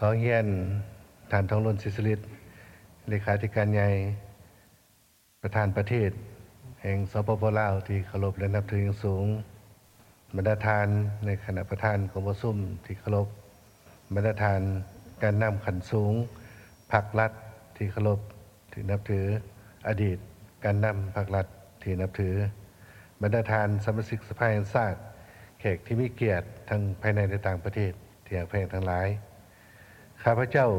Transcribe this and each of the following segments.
ຂໍຮຽນທ່ານ ທອງລຸນ ສີສຸລິດ ເລຂາທິການໃຫຍ່ ປະທານປະເທດແຫ່ງ ສປປ ລາວ ທີ່ເຄົາລົບ ແລະ ນັບຖືຢ່າງສູງ, ບັນດາທ່ານໃນຄະນະປະທານກອງປະຊຸມທີ່ເຄົາລົບ, ບັນດາທ່ານການນຳຂັ້ນສູງພັກລັດທີ່ເຄົາລົບ ທີ່ນັບຖື, ອະດີດການນຳພັກລັດທີ່ນັບຖື, ບັນດາທ່ານສະມາຊິກສະພາແຫ່ງຊາດ, ແຂກທີ່ມີກຽດທັງພາຍໃນ ແລະ ຕ່າງປະເທດທີ່ຮັກແພງທັງຫຼາຍ. ຂ້າພະເຈົ້າ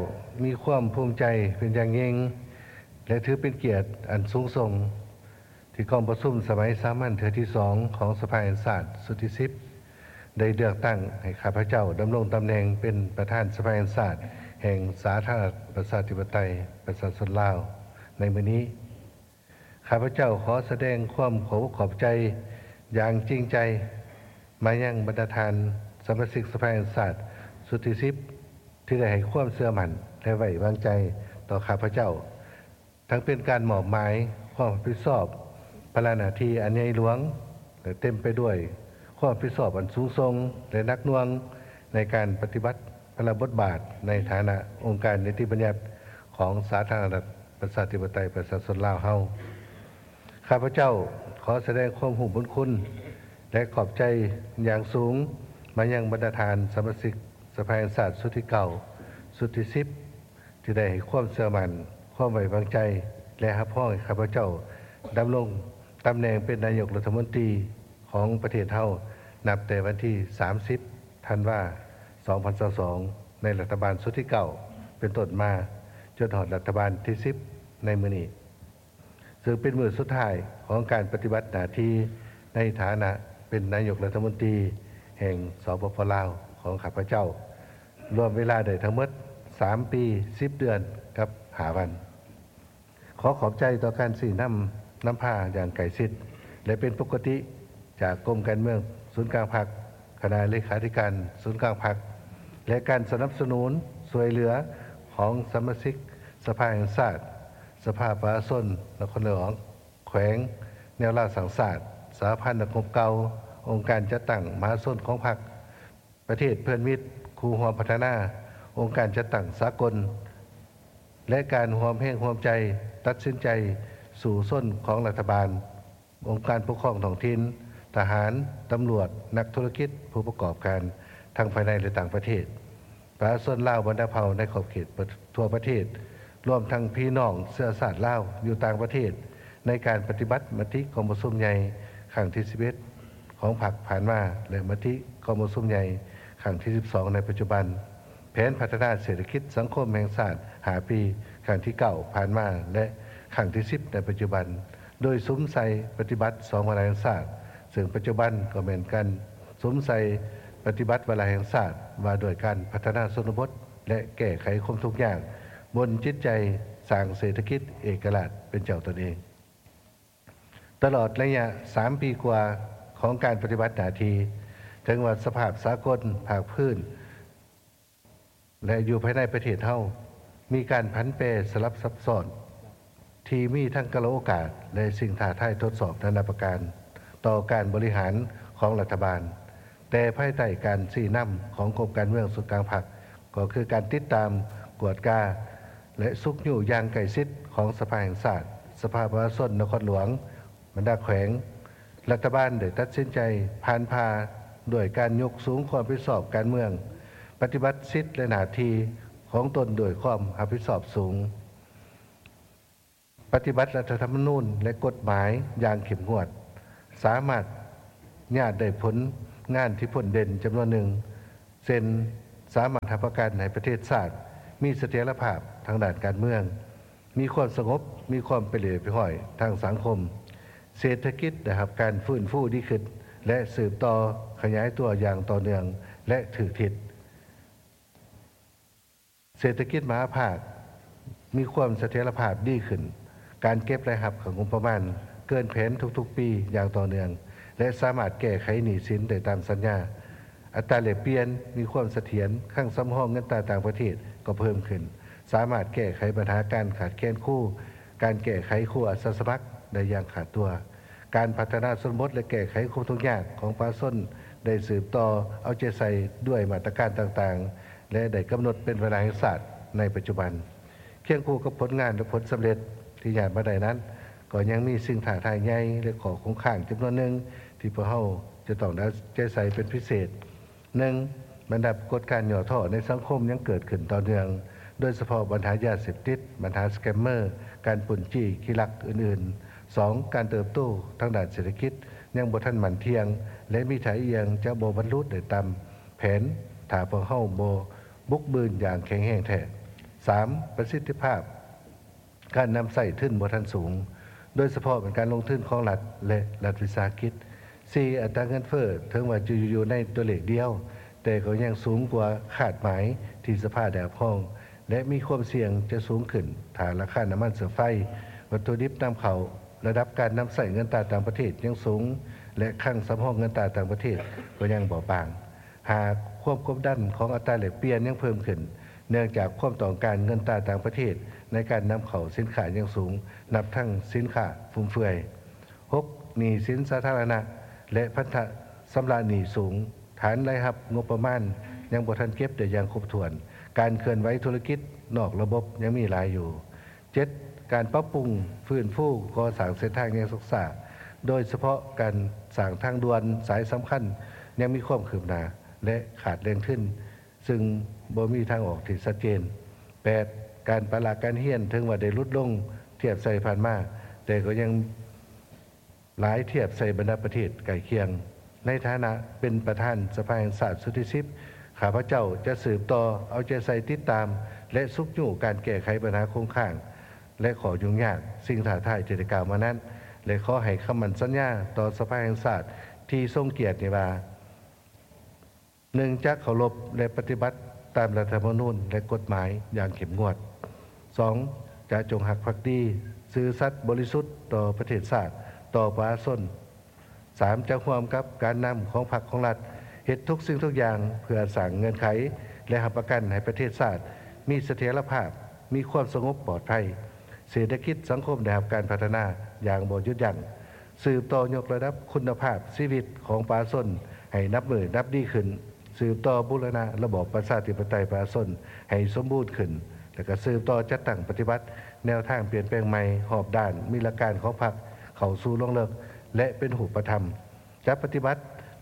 ມີຄວາມພູມໃຈເປັນຢ່າງຍິ່ງ ແລະ ຖືເປັນກຽດອັນສູງສົ່ງ ທີ່ກອງປະຊຸມສະໄໝສາມັນເທື່ອທີສອງຂອງສະພາແຫ່ງຊາດຊຸດທີສິບ ໄດ້ເລືອກຕັ້ງໃຫ້ຂ້າພະເຈົ້າດຳລົງຕຳແໜ່ງເປັນປະທານສະພາແຫ່ງຊາດແຫ່ງສາທາລະນະລັດປະຊາທິປະໄຕປະຊາຊົນລາວໃນມື້ນີ້. ຂ້າພະເຈົ້າຂໍສະແດງຄວາມຂອບອົກຂອບໃຈຢ່າງຈິງໃຈມາຍັງບັນດາທ່ານສະມາຊິກສະພາແຫ່ງຊາດຊຸດທີສິບ ທີ່ໄດ້ໃຫ້ຄວາມເຊື່ອໝັ້ນ ແລະ ໄວ້ວາງໃຈຕໍ່ຂ້າພະເຈົ້າ, ທັງເປັນການມອບໝາຍຄວາມຮັບຜິດຊອບພາລະໜ້າທີ່ອັນໃຫຍ່ຫຼວງ ແລະ ເຕັມໄປດ້ວຍຄວາມຮັບຜິດຊອບອັນສູງສົ່ງ ແລະ ໜັກໜ່ວງໃນການປະຕິບັດພາລະບົດບາດໃນຖານະອົງການນິຕິບັນຍັດຂອງສາທາລະນະລັດປະຊາທິປະໄຕປະຊາຊົນລາວເຮົາ. ຂ້າພະເຈົ້າຂໍສະແດງຄວາມຮູ້ບຸນຄຸນ ແລະ ຂອບໃຈຢ່າງສູງມາຍັງບັນດາທ່ານສະມາຊິກສະພາແຫ່ງຊາດຊຸດທີເກົ້າ, ຊຸດທີສິບ ທີ່ໄດ້ໃຫ້ຄວາມເຊື່ອໝັ້ນ, ຄວາມໄວ້ວາງໃຈ ແລະ ຮັບຮອງໃຫ້ຂ້າພະເຈົ້າດຳລົງຕຳແໜ່ງເປັນນາຍົກລັດຖະມົນຕີຂອງປະເທດເຮົາ ນັບແຕ່ວັນທີສາມສິບ ທັນວາ ສອງພັນຊາວສອງ ໃນລັດຖະບານຊຸດທີເກົ້າເປັນຕົ້ນມາ, ຈົນຮອດລັດຖະບານທີສິບໃນມື້ນີ້. ເຊິ່ງເປັນມື້ສຸດທ້າຍຂອງການປະຕິບັດໜ້າທີ່ໃນຖານະເປັນນາຍົກລັດຖະມົນຕີແຫ່ງ ສປປ ລາວ ຂອງຂ້າພະເຈົ້າ, ລວມເວລາໄດ້ທັງໝົດສາມປີ ສິບເດືອນກັບຫ້າວັນ. ຂໍຂອບໃຈຕໍ່ການຊີ້ນຳນຳພາຢ່າງໃກ້ຊິດ ແລະ ເປັນປົກກະຕິ ຈາກກົມການເມືອງສູນກາງພັກ, ຄະນະເລຂາທິການສູນກາງພັກ ແລະ ການສະໜັບສະໜູນຊ່ວຍເຫຼືອຂອງສະມາຊິກສະພາແຫ່ງຊາດ, ສະພາປະຊາຊົນນະຄອນຫຼວງ, ແຂວງ, ແນວລາວສ້າງຊາດ, ສະຫະພັນນັກຮົບເກົ່າ, ອົງການຈັດຕັ້ງມະຫາຊົນຂອງພັກ, ປະເທດເພື່ອນມິດຄູ່ຮ່ວມພັດທະນາ, ອົງການຈັດຕັ້ງສາກົນ ແລະ ການຮ່ວມແຮງຮ່ວມໃຈຕັດສິນໃຈສູ້ຊົນຂອງລັດຖະບານ, ອົງການປົກຄອງທ້ອງຖິ່ນ, ທະຫານ, ຕຳຫຼວດ, ນັກທຸລະກິດ, ຜູ້ປະກອບການທັງພາຍໃນ ແລະ ຕ່າງປະເທດ, ປະຊາຊົນລາວບັນດາເຜົ່າໃນຂອບເຂດທົ່ວປະເທດ, ລວມທັງພີ່ນ້ອງເຊື້ອຊາດລາວຢູ່ຕ່າງປະເທດ ໃນການປະຕິບັດມະຕິກອງປະຊຸມໃຫຍ່ຄັ້ງທີສິບເອັດຂອງພັກຜ່ານມາ ແລະ ມະຕິກອງປະຊຸມໃຫຍ່ຄັ້ງທີສິບສອງໃນປັດຈຸບັນ, ແຜນພັດທະນາເສດຖະກິດສັງຄົມແຫ່ງຊາດຫ້າປີຄັ້ງທີເກົ້າຜ່ານມາ ແລະ ຄັ້ງທີສິບໃນປັດຈຸບັນ, ໂດຍສຸມໃສ່ປະຕິບັດສອງວາລະແຫ່ງຊາດ, ເຊິ່ງປັດຈຸບັນກໍແມ່ນການສຸມໃສ່ປະຕິບັດວາລະແຫ່ງຊາດວ່າດ້ວຍການພັດທະນາຊົນນະບົດ ແລະ ແກ້ໄຂຄວາມທຸກຍາກບົນຈິດໃຈສ້າງເສດຖະກິດເອກະລາດເປັນເຈົ້າຕົນເອງ. ຕະຫຼອດໄລຍະສາມປີກວ່າຂອງການປະຕິບັດໜ້າທີ່, ເຖິງວ່າສະພາບສາກົນ, ພາກພື້ນ ແລະ ຢູ່ພາຍໃນປະເທດເຮົາ ມີການຜັນແປສະຫຼັບຊັບຊ້ອນ ທີ່ມີທັງກາລະໂອກາດ ແລະ ສິ່ງທ້າທາຍທົດສອບນານາປະການຕໍ່ການບໍລິຫານຂອງລັດຖະບານ, ແຕ່ພາຍໃຕ້ການຊີ້ນຳຂອງກົມການເມືອງສູນກາງພັກ ກໍຄືການຕິດຕາມ, ກວດກາ ແລະ ຊຸກຍູ້ຢ່າງໃກ້ຊິດຂອງສະພາແຫ່ງຊາດ, ສະພາປະຊາຊົນນະຄອນຫຼວງ, ບັນດາແຂວງ, ລັດຖະບານໄດ້ຕັດສິນໃຈຜ່ານຜ່າດ້ວຍການຍົກສູງຄວາມຮັບຜິດຊອບການເມືອງ, ປະຕິບັດສິດ ແລະ ໜ້າທີ່ຂອງຕົນດ້ວຍຄວາມຮັບຜິດຊອບສູງ, ປະຕິບັດລັດຖະທຳມະນູນ ແລະ ກົດໝາຍຢ່າງເຂັ້ມງວດ, ສາມາດຍາດໄດ້ຜົນງານທີ່ພົ້ນເດັ່ນຈຳນວນໜຶ່ງ, ເຊັ່ນ ສາມາດຮັບປະກັນໃຫ້ປະເທດຊາດມີສະຖຽນລະພາບທາງດ້ານການເມືອງ, ມີຄວາມສະຫງົບ, ມີຄວາມເປັນລະບຽບຮຽບຮ້ອຍທາງສັງຄົມ, ເສດຖະກິດໄດ້ຮັບການຟື້ນຟູດີຂຶ້ນ ແລະ ສືບຕໍ່ຂະຫຍາຍຕົວຢ່າງຕໍ່ເນື່ອງ ແລະ ຖືກທິດ, ເສດຖະກິດມະຫາພາກມີຄວາມສະຖຽນລະພາບດີຂຶ້ນ, ການເກັບລາຍຮັບເຂົ້າງົບປະມານເກີນແຜນທຸກໆປີຢ່າງຕໍ່ເນື່ອງ ແລະ ສາມາດແກ້ໄຂໜີ້ສິນໄດ້ຕາມສັນຍາ, ອັດຕາແລກປ່ຽນມີຄວາມສະຖຽນ, ຄັງສຳຮອງເງິນຕາຕ່າງປະເທດກໍເພີ່ມຂຶ້ນ, ສາມາດແກ້ໄຂບັນຫາການຂາດແຄນຄູ, ການແກ້ໄຂຄູອາສາສະໝັກໄດ້ຢ່າງຂາດຕົວ, ການພັດທະນາຊົນນະບົດ ແລະ ແກ້ໄຂຄວາມທຸກຍາກຂອງປະຊາຊົນໄດ້ສືບຕໍ່ເອົາໃຈໃສ່ດ້ວຍມາດຕະການຕ່າງໆ ແລະ ໄດ້ກຳນົດເປັນເວລາແຫ່ງຊາດໃນປັດຈຸບັນ. ຄຽງຄູ່ກັບຜົນງານ ແລະ ຜົນສຳເລັດທີ່ຍາດມາໄດ້ນັ້ນ, ກໍຍັງມີສິ່ງທ້າທາຍໃຫຍ່ ແລະ ຂໍ້ຄົງຄ້າງຈຳນວນໜຶ່ງ ທີ່ພວກເຮົາຈະຕ້ອງໄດ້ເອົາໃຈໃສ່ເປັນພິເສດ. ໜຶ່ງ, ບັນດາປາກົດການຫຍໍ້ທໍ້ໃນສັງຄົມຍັງເກີດຂຶ້ນຕໍ່ເນື່ອງ, ໂດຍສະເພາະບັນຫາຢາເສບຕິດ, ບັນຫາສະແກມເມີ, ການປຸ້ນຈີ້ຂີ້ລັກອື່ນໆ. ສອງ, ການເຕີບໂຕທາງດ້ານເສດຖະກິດຍັງບໍ່ທັນໝັ້ນທ່ຽງ ແລະ ມີທ່າອ່ຽງຈະບໍ່ບັນລຸໄດ້ຕາມແຜນ ຖ້າພວກເຮົາບໍ່ບຸກບືນຢ່າງແຂງແຮງແທ້. ສາມ, ປະສິດທິພາບ ການນຳໃຊ້ທຶນບໍ່ທັນສູງ, ໂດຍສະເພາະແມ່ນການລົງທຶນຂອງລັດ ແລະ ລັດວິສາຫະກິດ. ສີ່, ອັດຕາເງິນເຟີ້ເຖິງວ່າຈະຢູ່ໃນຕົວເລກດຽວ, ແຕ່ກໍຍັງສູງກວ່າຄາດໝາຍທີ່ສະພາໄດ້ຮັບຮອງ ແລະ ມີຄວາມສ່ຽງຈະສູງຂຶ້ນ ຖ້າລາຄານ້ຳມັນເຊື້ອໄຟ, ວັດຖຸດິບນຳເຂົ້າ, ລະດັບການນຳໃຊ້ເງິນຕາຕ່າງປະເທດຍັງສູງ ແລະ ຄັງສຳຮອງເງິນຕາຕ່າງປະເທດກໍຍັງບອບບາງ. ຫ້າ, ຄວາມກົດດັນຂອງອັດຕາແລກປ່ຽນຍັງເພີ່ມຂຶ້ນ ເນື່ອງຈາກຄວາມຕ້ອງການເງິນຕາຕ່າງປະເທດໃນການນຳເຂົ້າສິນຄ້າຍັງສູງ, ນັບທັງສິນຄ້າຟຸມເຟືອຍ. ຫົກ, ໜີ້ສິນສາທາລະນະ ແລະ ພັນທະຊຳລະໜີ້ສູງ, ຖານລາຍຮັບງົບປະມານຍັງບໍ່ທັນເກັບໄດ້ຢ່າງຄົບຖ້ວນ, ການເຄື່ອນໄຫວທຸລະກິດນອກລະບົບຍັງມີຫຼາຍຢູ່. ເຈັດ, ການປັບປຸງຟື້ນຟູກໍ່ສ້າງເສັ້ນທາງຍັງຊັກຊ້າ, ໂດຍສະເພາະການສ້າງທາງດ່ວນສາຍສຳຄັນຍັງມີຄວາມຄືບໜ້າ ແລະ ຂາດແຫຼ່ງທຶນ ຊຶ່ງບໍ່ມີທາງອອກທີ່ຊັດເຈນ. ແປດ, ການປະລະການຮຽນເຖິງວ່າໄດ້ຫຼຸດລົງທຽບໃສ່ຜ່ານມາ, ແຕ່ກໍຍັງຫຼາຍທຽບໃສ່ບັນດາປະເທດໃກ້ຄຽງ. ໃນຖານະເປັນປະທານສະພາແຫ່ງຊາດຊຸດທີສິບ, ຂ້າພະເຈົ້າຈະສືບຕໍ່ເອົາໃຈໃສ່ຕິດຕາມ ແລະ ຊຸກຍູ້ການແກ້ໄຂບັນຫາຄົງຄ້າງ ແລະ ຂໍ້ຫຍຸ້ງຍາກ, ສິ່ງທ້າທາຍທີ່ໄດ້ກ່າວມານັ້ນ ແລະ ຂໍໃຫ້ຄຳໝັ້ນສັນຍາຕໍ່ສະພາແຫ່ງຊາດທີ່ຊົງກຽດນີ້ວ່າ ໜຶ່ງ, ຈະເຄົາລົບ ແລະ ປະຕິບັດຕາມລັດຖະທຳມະນູນ ແລະ ກົດໝາຍຢ່າງເຂັ້ມງວດ. ສອງ, ຈະຈົ່ງຮັກພັກດີ, ຊື່ສັດ, ບໍລິສຸດຕໍ່ປະເທດຊາດ, ຕໍ່ປະຊາຊົນ. ສາມ, ຈະຮ່ວມກັບການນຳຂອງພັກຂອງລັດ ເຮັດທຸກສິ່ງທຸກຢ່າງເພື່ອສ້າງເງື່ອນໄຂ ແລະ ຮັບປະກັນໃຫ້ປະເທດຊາດມີສະຖຽນລະພາບ, ມີຄວາມສະຫງົບປອດໄພ, ເສດຖະກິດສັງຄົມໄດ້ຮັບການພັດທະນາຢ່າງບໍ່ຢຸດຢັ້ງ. ສືບຕໍ່ຍົກລະດັບຄຸນນະພາບຊີວິດຂອງປະຊາຊົນໃຫ້ນັບມື້ນັບດີຂຶ້ນ, ສືບຕໍ່ບູລະນະລະບອບປະຊາທິປະໄຕປະຊາຊົນໃຫ້ສົມບູນຂຶ້ນ ແລະ ກະສືບຕໍ່ຈັດຕັ້ງປະຕິບັດແນວທາງປ່ຽນແປງໃໝ່ຮອບດ້ານ, ມີຫຼັກການຂອງພັກເຂົ້າສູ່ລວງເລິກ ແລະ ເປັນຮູບປະທຳ, ຈະປະຕິບັດ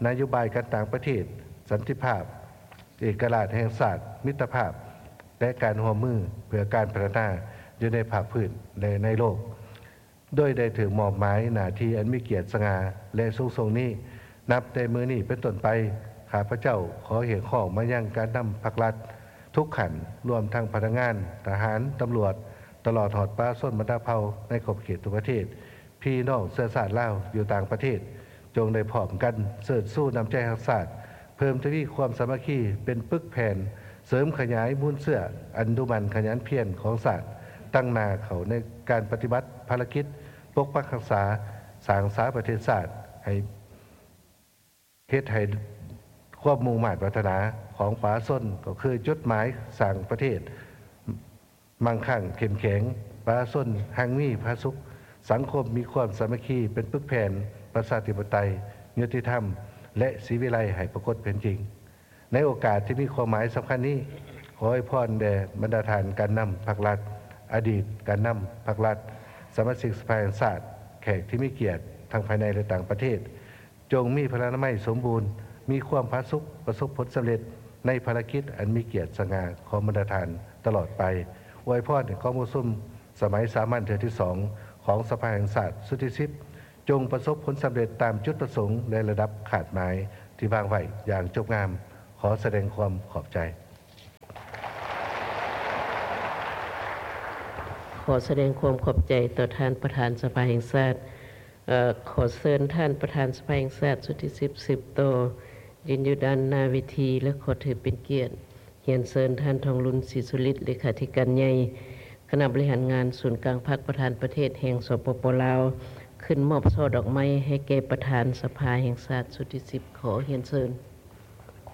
ນະໂຍບາຍການຕ່າງປະເທດ, ສັນຕິພາບ, ເອກະລາດແຫ່ງຊາດ, ມິດຕະພາບ ແລະ ການຮ່ວມມືເພື່ອການພັດທະນາຢູ່ໃນພາກພື້ນ ແລະ ໃນໂລກ. ໂດຍໄດ້ຖືກມອບໝາຍໜ້າທີ່ອັນມີກຽດສະຫງ່າ ແລະ ສູງສົ່ງນີ້, ນັບແຕ່ມື້ນີ້ເປັນຕົ້ນໄປ, ຂ້າພະເຈົ້າຂໍຮຽກຮ້ອງມາຍັງການນຳພັກລັດທຸກຂັ້ນ, ລວມທັງພະນັກງານ, ທະຫານ, ຕຳຫຼວດ, ຕະຫຼອດຮອດປະຊາຊົນບັນດາເຜົ່າໃນຂອບເຂດທົ່ວປະເທດ, ພີ່ນ້ອງເຊື້ອຊາດລາວຢູ່ຕ່າງປະເທດ, ຈົ່ງໄດ້ພ້ອມກັນເຊີດຊູນ້ຳໃຈຮັກຊາດ, ເພີ່ມທະວີຄວາມສາມັກຄີເປັນປຶກແຜ່ນ, ເສີມຂະຫຍາຍມູນເຊື້ອອັນດຸໝັ່ນຂະຫຍັນພຽນຂອງຊາດ, ຕັ້ງໜ້າເຂົ້າໃນການປະຕິບັດພາລະກິດປົກປັກຮັກສາ, ສ້າງສາປະເທດຊາດໃຫ້ ເຮັດໃຫ້ຄວາມມຸ່ງມາດປາດຖະໜາຂອງປະຊາຊົນ ກໍຄືຈຸດໝາຍສ້າງປະເທດ ມັ່ງຄັ່ງເຂັ້ມແຂງ, ປະຊາຊົນຮັ່ງມີຜາສຸກ, ສັງຄົມມີຄວາມສາມັກຄີເປັນປຶກແຜ່ນ, ປະຊາທິປະໄຕ, ຍຸຕິທຳ ແລະ ສີວິໄລໃຫ້ປາກົດເປັນຈິງ. ໃນໂອກາດທີ່ມີຄວາມໝາຍສຳຄັນນີ້, ຂໍອວຍພອນແດ່ບັນດາທ່ານການນຳພັກລັດ, ອະດີດການນຳພັກລັດ, ສະມາຊິກສະພາແຫ່ງຊາດ, ແຂກທີ່ມີກຽດທັງພາຍໃນ ແລະ ຕ່າງປະເທດ, ຈົ່ງມີພະລານາໄມສົມບູນ, ມີຄວາມຜາສຸກ, ປະສົບຜົນສຳເລັດໃນພາລະກິດອັນມີກຽດສະຫງ່າຂອງບັນດາທ່ານຕະຫຼອດໄປ. ອວຍພອນໃຫ້ກອງປະຊຸມສະໄໝສາມັນເທື່ອທີສອງຂອງສະພາແຫ່ງຊາດຊຸດທີສິບ ຈົ່ງປະສົບຜົນສຳເລັດຕາມຈຸດປະສົງ ແລະ ລະດັບຄາດໝາຍທີ່ວາງໄວ້ຢ່າງຈົບງາມ. ຂໍສະແດງຄວາມຂອບໃຈ. ຂໍສະແດງຄວາມຂອບໃຈຕໍ່ທ່ານປະທານສະພາແຫ່ງຊາດ. ເອີ ຂໍເຊີນທ່ານປະທານສະພາແຫ່ງຊາດຊຸດທີສິບ ສືບຕໍ່ ຢືນຢູ່ດ້ານໜ້າເວທີ ແລະ ຂໍຖືເປັນກຽດຮຽນເຊີນທ່ານ ທອງລຸນ ສີສຸລິດ ເລຂາທິການໃຫຍ່ຄະນະບໍລິຫານງານສູນກາງພັກ ປະທານປະເທດແຫ່ງ ສປປ ລາວ ຂຶ້ນມອບຊ່ອດອກໄມ້ໃຫ້ແກ່ປະທານສະພາແຫ່ງຊາດຊຸດທີສິບ. ຂໍຮຽນເຊີນ.